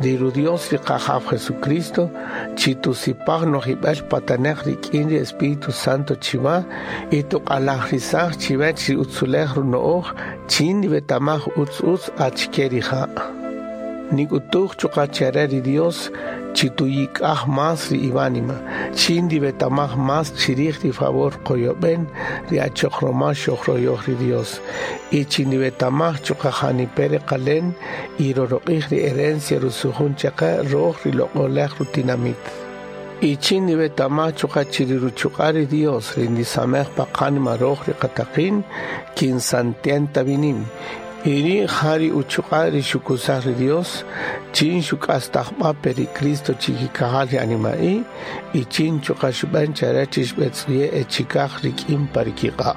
Ri Ru-Dios ri Qajaw Jesucristo, chi tusipaj nojib'el pataneq rik'in ri Espíritu Santo chiwa y tuq'alajrisaj chiwech ri utzulej runo'oj chin niwetamaj utz utz achike rija'. Nik'utuj chuqa' chare ri Dios chi tuyik'aj más ri iwánima, chin ndiwetamaj más chirij ri favor qoyob'en ri achoq roma xojroyoj ri Dios, y chi ndiwetamaj chuqa' janipe' reqalen y roroq'ij ri herencia rusujun chaqe roj ri loq'olej rutinamit. Y chin ndiwetamaj chuqa' chi ri ruchuq'a' ri Dios ri ndisamej pa qánima roj ri qataqin, kin santienta vinim. Y ri' ja ri uchuq'a' ri xukusaj ri Dios, chin xuk'astajb'a pe ri Cristo chikikajal ri anima'i', y chin chuqa' xub'en chare chi xb'etz'uye' e chikaj rik'in pa rikiq'a'.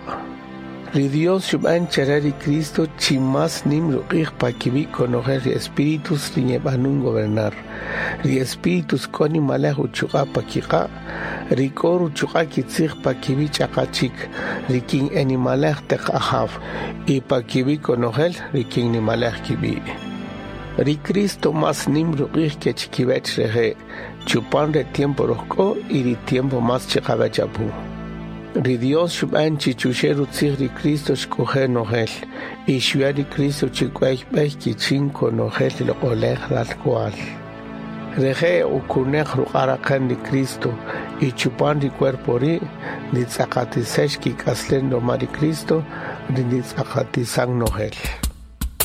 Ri Dios xub'en chare ri Cristo chi más nim ruq'ij pa kiwi' konojel ri espíritus ri nyeb'anun gobernar. Ri espíritus k'o nimalej uchuq'a' pa kiq'a', ri k'o ruchuq'a' kitzij pa kiwi' ch'aqa chik, ri kin enimalej teq ajaw, y pa kiwi' konojel ri kin nimalej kib'i'. Ri Cristo más nim ruq'ij ke chikiwech reje', chupan re tiempo rojk'o y ri tiempo más chiqawech apu. Ri Dios xub'en chi chuxe' rutzij ri Cristo xk'oje' nojel, y xuya' ri Cristo chi k'uey b'ey kichin konojel ri loq'olej ralk'wa'l. Reje' okuneq ruq'a' raqen ri Cristo, y chupan ri cuerpo ri' nditz'aqatisex kik'aslen roma ri Cristo ri nditz'aqatisan nojel.